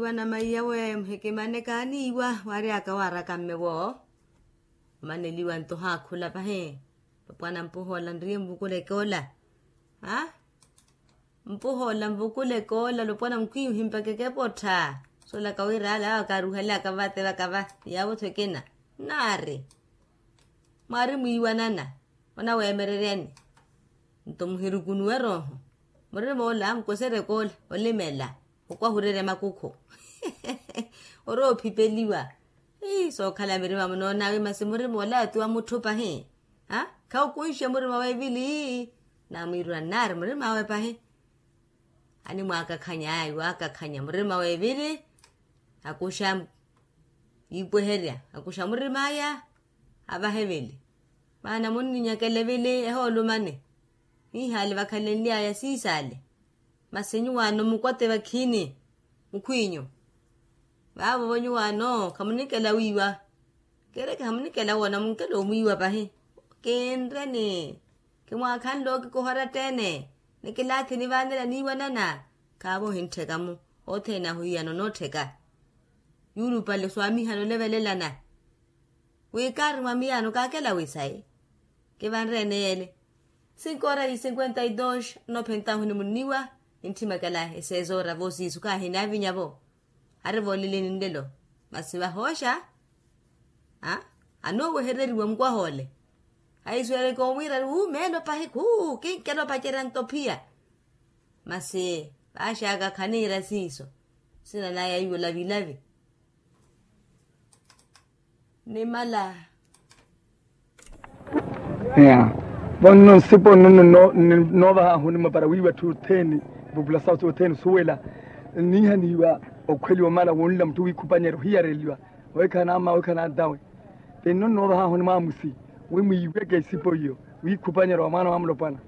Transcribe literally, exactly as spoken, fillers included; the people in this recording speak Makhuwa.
Iwa na maiyawe muhikimane kaaniiwa waaryaka waaraka mmewo. Omaneliwa nto ohaakhula pahi. Lopwana mpuhoola nriye nvukula ekoola. Mpuhoola nvukula ekoola lopwana mukhwiihi mpaka ekepottha. Soolaka wira ale awo kaaruhelaka vate vakava. Yaawo-tho ekina nnaari mwaari mwiiwanana. Onaweemereryani nto muhirukunuwe rooho. Murim'ola mukwesere koola olimela okwahurerya makukhu. Orowa ophipeliwa. Sookhala mirima munoon'awe masi murim'ola oti wa mutthu pahi. Khawukunxe murima w'evili. Naamwiirula nnaari murim'awe pahi. Animwaakakhanya ayi waakakhanya murima w'evili. Akuxa yiipweherya akuxa murim'aya. Avaha evili maana munninyakela evili ehoolumani. Hiihaali vakhalenly'aya siisaale. Masi nyuwaano mukwate vakhiini mukhwiinyu. Vaavo-vo nyuwaano khamunikela wiiwa. Kereke hamunikela woona munkela omwiiwa pahi. Kinreni. Kimwaakhanle okikoha oratta-ene. Nikilaathi nivaanela niiwanana. Khaavo ohinttheka-mu othene ahu hiyana onoottheka. Yuulupale swaamihana olevelelana. Wi kaari mwa miyaano kaakela wi sayi. Kivanre-ene yeele. Sinkoora yi sinkwenta yi dos. Nnophentahu ni munniwa nintthimekela eseezoora voosiisu kaahinaavinya-vo. Ari vooleleni nlelo. Masi vahooxa anoowehereriwa mukwaha ole. Ahisweereke omwiira ari wuumeelo pahi khuu kinkela opacerya nto phiya. Masi vaaxaka khaniira siiso. Sina naya iwo lavilavi. Nimala. Vo nno nsipo nno nno noovahaahu onimwa para wiiwa atthu othene. Epopulasawu othene osuwela nniihaniwa okhweliwa omala wonla mutthu wiikhupanyerya ohiyareliwa. Owekhana ama owekhana atawe. Ti nno nnoovahaahu onimwa amusi wi mwiiweke isipo iyo wiikhupanyerya wa mwaana wa mulopwana.